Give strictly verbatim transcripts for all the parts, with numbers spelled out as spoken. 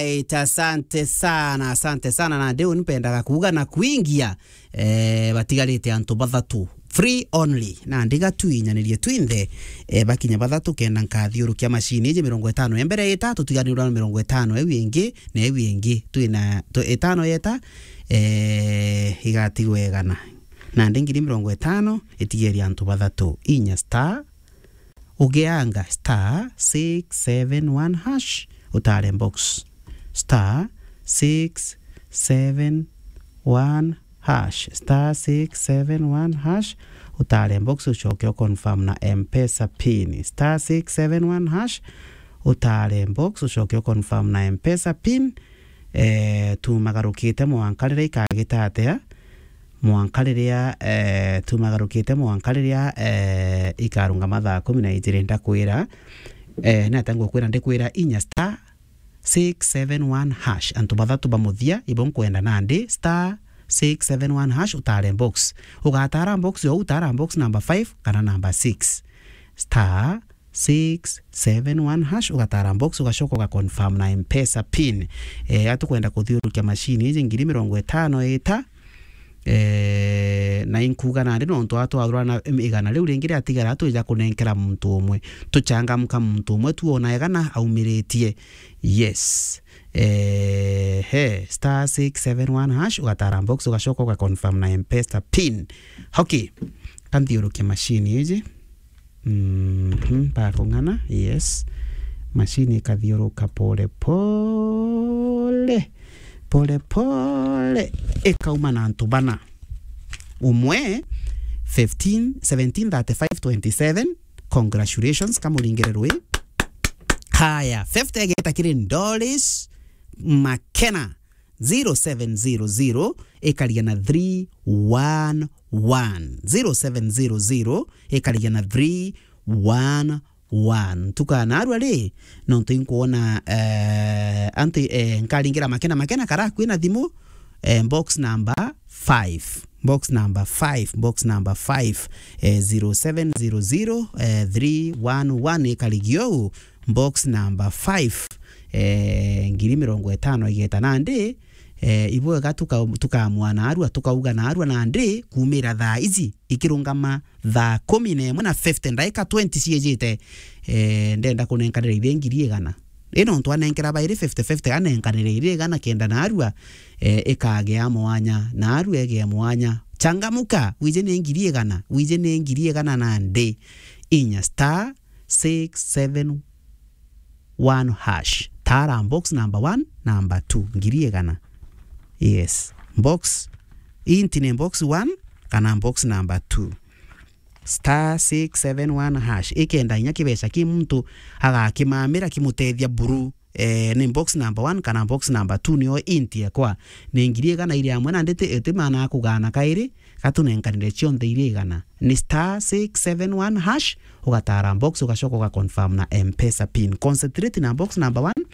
Alright, asante sana, asante sana. Na ndiu nimpendaga kuuga na kuingia, eh, batigarite antu bathatu. Free only. Na ndiga tuinyanirie twinthe, eh, bakinya bathatu kenda nkathiurukia mashini iji mirongo itano ya mbere ita, tutiganirwa na mirongo itano iu ingi, na iu ingi. Twina, tu-, itano yeta, eh, igatigwa igana. Na ndi ngiri mirongo itano, itigeria antu bathatu. Inya star, ugeanga star six seven one hash, utare box. Star six seven one hash, star six seven one hash, utare box, ucoke u confirm na M-Pesa pin. Star six seven one hash, utare box, ucoke u confirm na M-Pesa pin. Eh, tumagarukite mwanka riria ikagita atia? Mwanka riria, eh, tumagarukite mwanka riria, eh, ikarungama thaa kumi na ijiri, ndakwira, eh, ni atia ngukwira? Ndikwira inya star six seven one hash. Antu bathatu ba muthia, ibo nkwenda nandi, star six seven one hash, utare box. Ugatara box yo, utara box number five kana number six. Star six seven one hash, ugatara box, ugacoka uga confirm na M-Pesa pin. Eh, atukwenda kuthiurukia mashini iji ngiri mirongo itano ita, eh, na inkuga nandi nontu atwarwa na igana riu ringi riatigara, twija kunenkera muntu umwe. Tuchangamka muntu umwe, tuona igana aumiritie. Yes. Eh, he, star six seven one hash, ugatara box, ugacoka uga confirm na M-Pesa pin. Okay. Kanthiurukia mashini iji. Mhm, bakung'ana, yes. Mashini ikathiuruka pole pole. Pole pole. Ikauma na antu bana. Umwe, fifteen, seventeen, thirty-five, twenty-seven. Congratulations, kamuringire rwi. Haya, fifty igeta kiri Doris Makena. Zero seven zero zero ikaria na three one one. Zero seven zero zero ikaria na three one one. Tukana arua ri, nontu inkwona, eh, antu, eh, nkaringira Makena, Makena kara kwina thimu, eh, box number five. Box number five, box number five, eh, zero seven zero zero, eh, three one one ikarigio u, box number five, eh, ngiri mirongo itano igeta nandi, eh, ibwega tuka-, tukamwa na arua, tukauga na arua nandi, kumira thaa iji, ikirungama thaa kumi na imwe na fifty, ndaika twenty ciejite, eh, ndenda kunenkanira ithe ngiri igana. Ino ntu anenkera bairi fifty fifty, anenkanire iri igana kenda na arua, eh, ikagea mwanya, na arua egea mwanya. Changamuka, wije ni ngiri igana, wije ni ngiri igana nandi. Inya star six seven one hash. Tara box number one, number two, ngiri igana. Yes. Box, inti ni box one, kana box number two. Star six seven one hash. Ikenda inya kibeca ki muntu agakimamira kimutethia buru. Eh, ni box number one kana box number two nio inti ekwa. Ni ngiri igana iri amwe na nditi iti mana kugana kairi, gatunenkanire cionthe iri igana. Ni star six seven one hash, ugatara box, ugacoka uga confirm na M-Pesa pin. Concentrate na box number one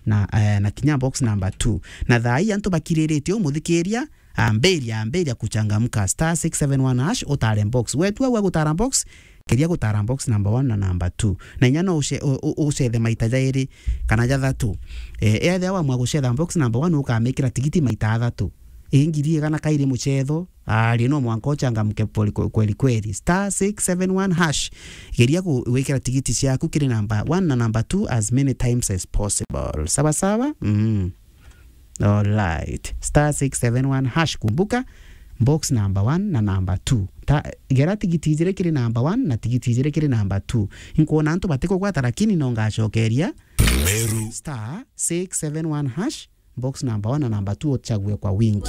na, eh, na kinya box number two. Na thaa ii antu bakiriritie umuthikiria, ambiria, ambiria kuchangamka. Star six seven one hash, utare box. Wetu au agutara box, keria gutara box number one na number two. Na inya no uce-, u-, u-, ucethe maita jairi kana jathatu. Eh, ethia wamwa gucetha box number one, ukamikira tigiti maita athatu. I ngiri igana kairi mucetho, ari no mwanka uchangamke poli-, kwe-, kweli kweli. Star six seven one hash. Geria ku-, gwikira tigiti ciaku kiri number one na number two as many times as possible. Sawa sawa? Mm. Alright. Star six seven one hash, kumbuka, box number one na number two. Ta, gera tigiti ijiri kiri number one na tigiti ijiri kiri number two. Inkwona antu batikugwata, lakini no ngacokeria. Meru. Star six seven one hash, box number one na number two uchague kwa wingi.